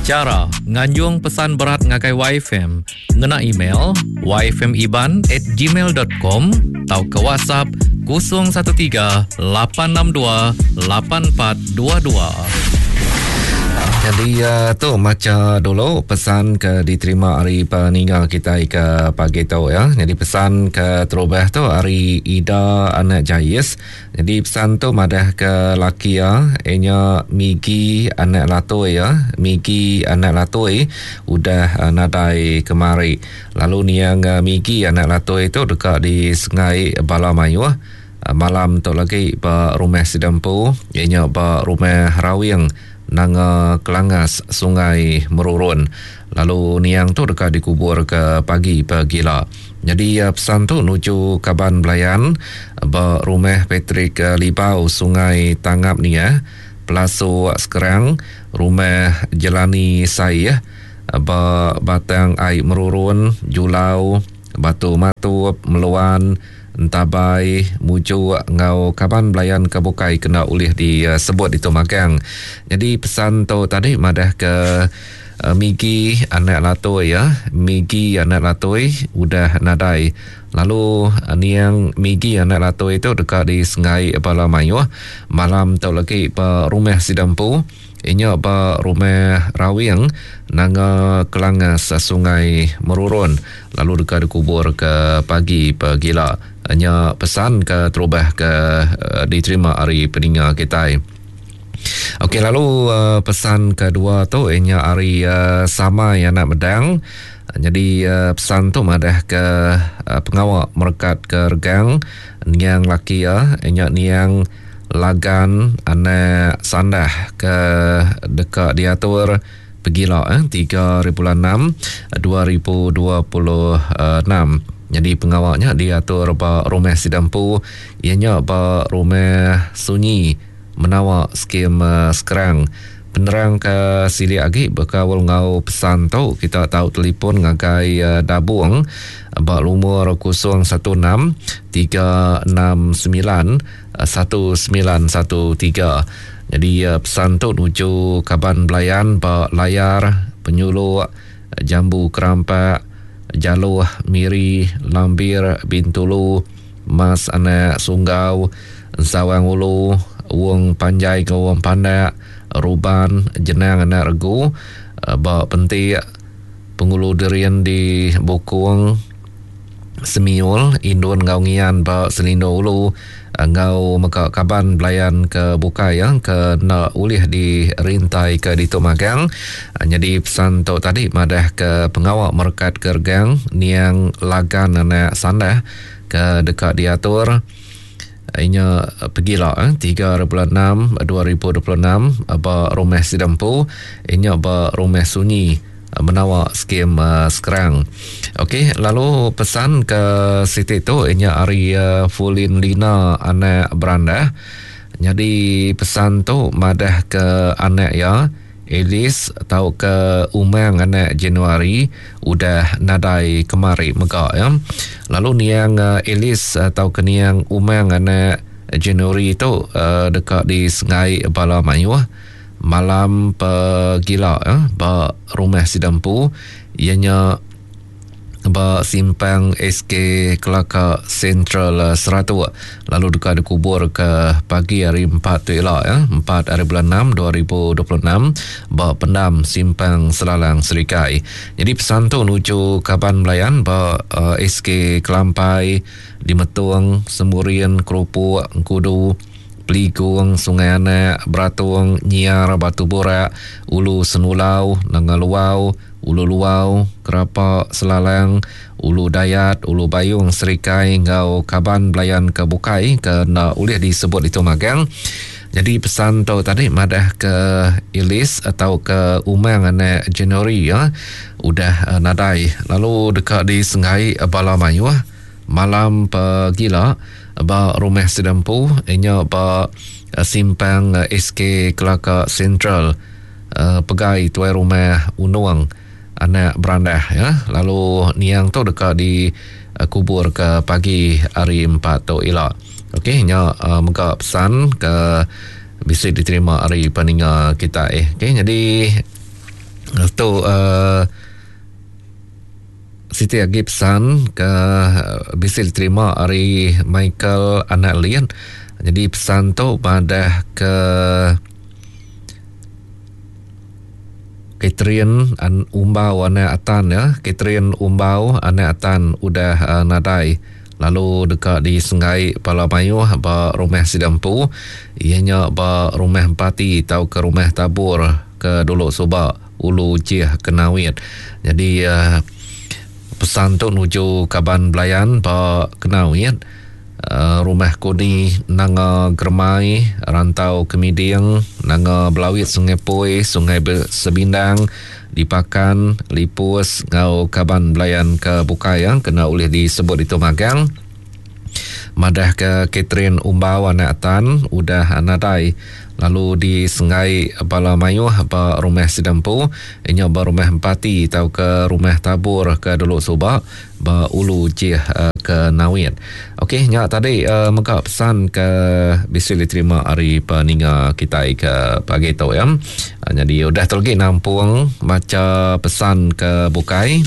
Chara nganjung pesan berat ngagai YFM ngena email yfmiban@gmail.com tauka WhatsApp 013 862 8422. Jadi uh, tu macha dulu pesan ke diterima ari peninga kitai ke pagi tu ya. Jadi pesan ke terubah tu ari Ida anak Jais. Nyadi pesan tu madah ke laki iya inya Migi anak Latoi iya, Migi anak Latoi udah nadai kemari. Lalu niang Migi anak Latoi tu deka disengai bala mayuh malam tu lagi ba rumah sida empu iya nya ba Rumah Rawing Nanga Kelangas Sungai Merurun. Lalu niang tu deka dikubur ke pagi pegila. Nyadi pesan tu nuju kaban belayan ba Rumah Patrick Libau Sungai Tangap Niah, Pelasuk Sekerang, Rumah Jelani Saih ba Batang Ai Merurun, Julau, Batu Matup, Meluan, Entabai, Mujuk enggau kaban belayan ke bukai kena ulih disebut ditu magang. Nyadi pesan tu tadi madah ke Migi anak Latoi ya, Migi anak Latoi udah nadai. Lalu niang Migi anak Latoi tu deka disengai bala mayuh malam tu lagi ba rumah sida empu. Inya ba Rumah Rawing, Nanga Kelangas, Sungai Merurun lalu deka dikubur ke pagi pegila. Nya pesan ke terubah ke diterima ari peninga kitai. Okey lalu pesan kedua tu inya ari Samai anak Medang. Nyadi pesan tu madah ke pengawa merekat ke regang niang laki iya inya niang Lagan anak Sandah ke deka diatur pegila 3 hari bulan 6 2026. Nyadi pengawa nya diatur ba rumah sida empu iya nya ba Rumah Sunyi Menawa Skim Skrang. Penerang ke silik agi bekaul enggau pesan tu kita tau telipon ngagai Dabung ba lumur 016 369 1913. Nyadi pesan tu nuju kaban belayan ba Layar, Penyuluk, Jambu Kerampak, Jaloh, Miri, Lambir, Bintulu, Mas Anak Sunggau, Ensawang Ulu, Wong Panjai enggau Wong Pandak, Ruban, Jenang Anak Regu, ba Pentik, Pengulu Derin di Bukong, Semiul, Indun enggau Ngian ba Selindo Ulu enggau mega kaban belayan ke bukai ke enda ulih dirintaika ditu magang. Nyadi pesan tu tadi madahka pengawa merekatka regang niang Lagan anak Sandah ke deka diatur inya pegila 3 hari bulan 6 2026 ba Rumah Sida Empu inya ba Rumah Sunyi menawa skim Skrang. Okey, lalu pesan ke siti tu inya ari Fulin Lina anak Berandah. Nyadi pesan tu madah ke anak iya Alice tauka Umang anak Januari udah nadai kemari mega ya. Lalu niang Alice tauka niang Umang anak Januari tu deka disengai bala mayuh malam pegila ba rumah sida empu iya nya ba simpang SK Kelaka Sentral Seratok lalu deka dikubur ke pagi hari empat tu ila ya empat hari bulan enam 2026 ba pendam simpang Selalang Serikai. Jadi pesan tu nuju kaban belayan ba uh, eh, SK Kelampai di Metung, Semurin, Kerupuk, Engkudu, Peligung, Sungai Anak, Beratung, Nyiar, Batu Burak, Ulu Senulau, Nanga Luau, Ulu Luau, Kerapa, Selalang, Ulu Dayat, Ulu Bayung, Serikai enggau kaban belayan ke bukai ke enda ulih disebut ditu magang. Nyadi pesan tu tadi madah ke Elis atau ke Umang anak January ya udah nadai lalu deka disenggai bala mayuh malam pegila ba rumah sida empu inya ba simpang SK Kelaka Sentral pegai tuai rumah Unong anak Berandah ya lalu niang tu deka dikubur ke pagi hari empat tu ila. Okey nya mega pesan ke bisi diterima ari peninga kitai. Okey nyadi. Tu uh, siti agi pesan ke bisi diterima ari Michael Anak Lin. Jadi pesan tu madah ke Catherine an Umbau anak Atan ya. Catherine Umbau anak Atan udah uh, nadai lalu deka disenggai bala mayuh ba rumah sida empu iya nya ba rumah Empati tauka rumah Tabur ke dulu suba Ulu Jih Kenawit. Nyadi uh, pesan tu nuju kaban belayan ba Kenawit uh, rumah Kuni Nanga Germai Rantau Kemiding Nanga Belawit Sungai Poi Sungai Sebindang Dipakan Lipus enggau kaban belayan ke bukai ya kena ulih disebut ditu magang. Madahka Catherine Umbau anak Tan udah nadai lalu disenggai bala mayuh ba rumah sida empu inya ba rumah Empati tauka rumah Tabur ke dulu suba ba Ulu Jih ke Nawit. Okey nya tadi mega pesan ke bisi diterima ari peninga kitai ke pagi tu ya. Nyadi udah tu lagi nampung macha pesan ke bukai.